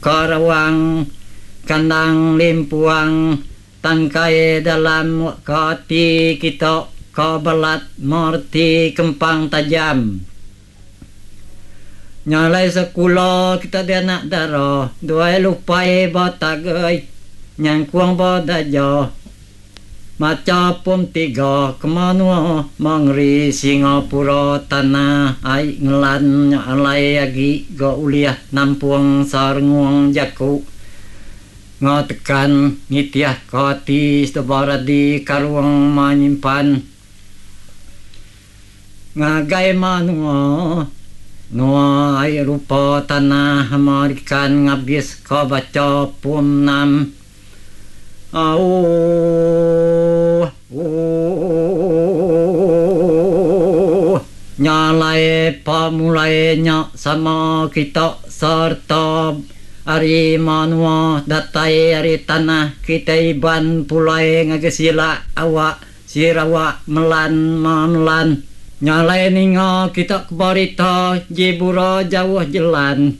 Karawang kandang limpuang tangkai dalam ka ati kita ka balat mereti kempang tajam. Nya alai sekula kita dianak dara duai lupai ba tagai nyangkung ba daja. Macha pom tiga ke menua mengeri Singapura tanah ai ngelan nya alai agi ga ulih nampung serengung jaku enggau tekan nitih ke ati seduba radi karung menyimpan ngagai menua nua ai rupa tanah American ngabis ke bacha pom enam. Auh. Ooh. Nya alai pemulai nya sama kita sereta ari menua datai ari tanah kitai Iban pulai ngagai Silak awak Sarawak melan memelan. Nya alai ninga kita ke berita jibura jauh jelan.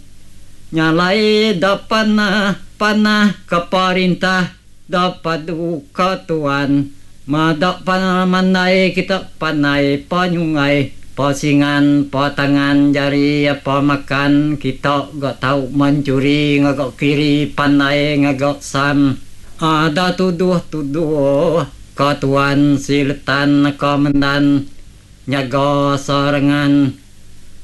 Nya alai da panah panah ke perintah da padu ke tuan. Meda pemandai kita pandai penyunggai pesingan petangan jari apa makan kita ga tau menchuri ngaga kiri pandai ngaga sam. Ada tuduh tuduh ke tuan siletan ke mendan nyaga serengan.